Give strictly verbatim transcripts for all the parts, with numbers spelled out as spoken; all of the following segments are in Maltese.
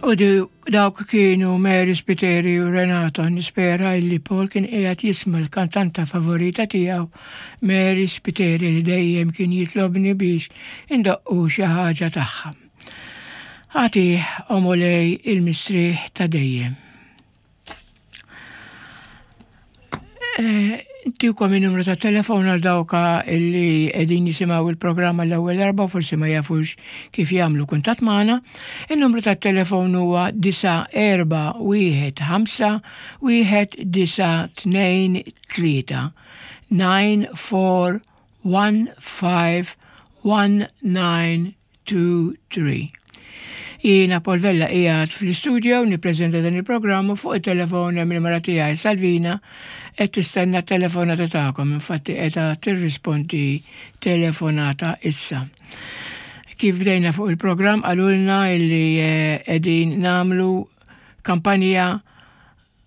U dawk kienu Mary Spiteri u Renato. Nispera illi Paul kien qiegħed jisma' l-kantanta favorita tiegħu, Mary Spiteri, li dejjem kien jitlobni biex indoqqu xi ħaġa tagħha. Agħtih, o Mulej, il-mistrieħ ta' dejjem. Ntikom il-numru ta' telefon għal dawka illi qegħdin jisimgħu il-programma l-ewwel darba u forsi ma jafux kif jagħmlu kuntatt magħna. Il-numru ta' telefon huwa disa' erba' wieħed ħamsa wieħed disa' tnejn tlieta nine four one five one nine two three. Jiena Paul Vella qiegħed fl-istudio nippreżenta dan il-programm u fuq it-telefon hemm il-mara tiegħi Salvina qed tistenna t-telefonata tagħkom, infatti qiegħda tirrispondi telefonata issa. Kif bdejna fuq il-programm qalulna illi, eh, qegħdin nagħmlu kampanja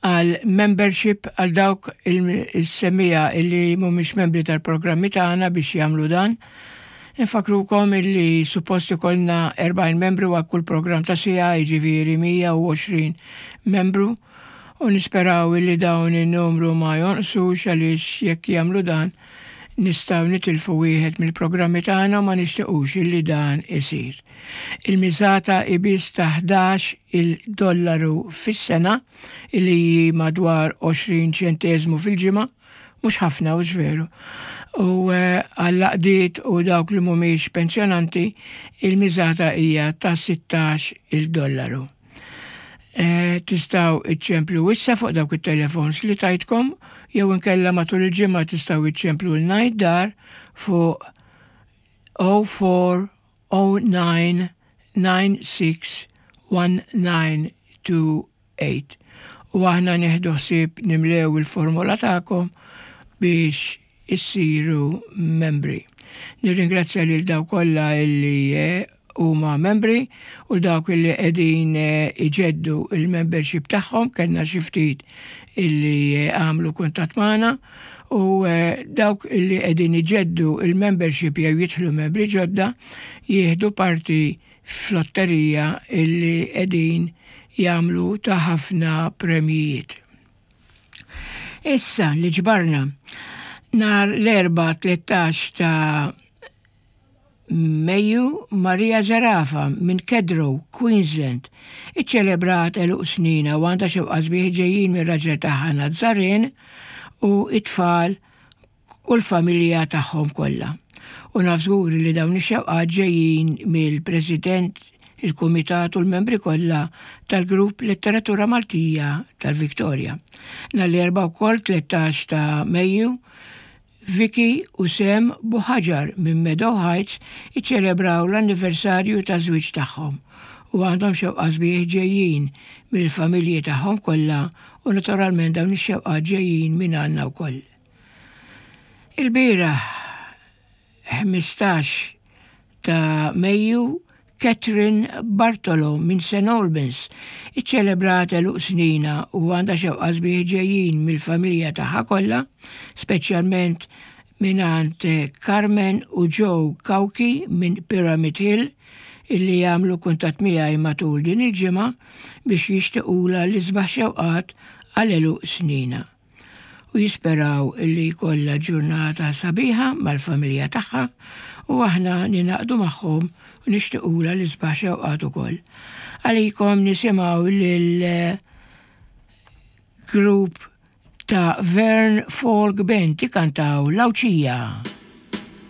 għal membership għal dawk il-semija illi mhumiex membri tal-programmi tagħna biex jagħmlu dan. Infakrukom illi suppost ikollna erbgħin membru għal kull programm ta' sija, jiġifieri mija u għoxrin membru, u nisperaw illi dawn in-numru ma jonqsux għaliex jekk jagħmlu dan nistgħu nitilfu wieħed mill-programmi tagħna u ma nixtiequx illi dan isir. Il-miżata hi biss ta' ħdax il-dollaru fis-sena illi hi madwar għoxrin ċenteżmu fil-ġimgħa, mhux ħafna u veru. U, eh, għall-għaqdiet u dawk li mhumiex pensjonanti il-miżata hija ta' sittax il-dollaru. Eh, tistgħu iċċemplu issa fuq dawk it-telefons li tajtkom, jew inkella matul il-ġimgħa tistgħu iċċemplu l-ngħid dar fuq oh four oh nine nine six one nine two eight. U aħna nieħdu ħsieb nimlew il-formola tagħkom biex issiru membri. Nirringrazzja lil dawk kollha illi, eh, huma membri u dawk illi qegħdin, eh, iġeddu il-membership tagħhom, kellna xi ftit illi, eh, għamlu kuntatt magħna, u, eh, dawk illi qegħdin iġeddu il-membership jew jidħlu membri ġodda jieħdu parti f'lotterija illi qegħdin jagħmlu ta' ħafna premjijiet. Issa li ġbarna nhar l-Erbgħa tlettax ta' Mejju, Maria Zerafa minn Kedro, Queensland, iċċelebrat għeluq snina u għandha xewqa sbieħ ġejjin mir-raġel tagħha Nazarin u it-tfal u l-familja tagħhom kollha. U naf żgur li dawn ix-xewqat ġejjin mill-President, il-Kumitat u l-membri kollha tal-Grupp Letteratura Maltija tal-Victoria. Nhar l-Erbgħa wkoll tlettax ta' Mejju, Vicky u Sam Buħaġar minn Meadow Heights iċċelebraw l-anniversarju ta' żwieġ tagħhom u għandhom xewqa sbieħ ġejjin mill-familji tagħhom kollha u naturalment dawn ix-xewqat ġejjin minn għandna wkoll. Il-bieraħ ħmistax ta' Mejju, Catherine Bartolo minn Saint Albans iċċelebrat għeluq snina u għandha xewqa sbieħ ġejjin mill-familja tagħha kollha, speċjalment mingħand Carmen u Joe Cauchi minn Pyramid Hill illi jagħmlu kuntatt miegħi matul din il-ġimgħa biex jixtiequlha l-isbaħ xewqat għal għeluq snina. U jisperaw illi jkollha ġurnata sabiħa mal-familja tagħha u aħna ninaqdu magħhom u nixtiequlha l-isbaħ xewqat ukoll. Għalikom nisimgħu lil grupp ta' Vern Folk Band ikantaw L-Għawdxija.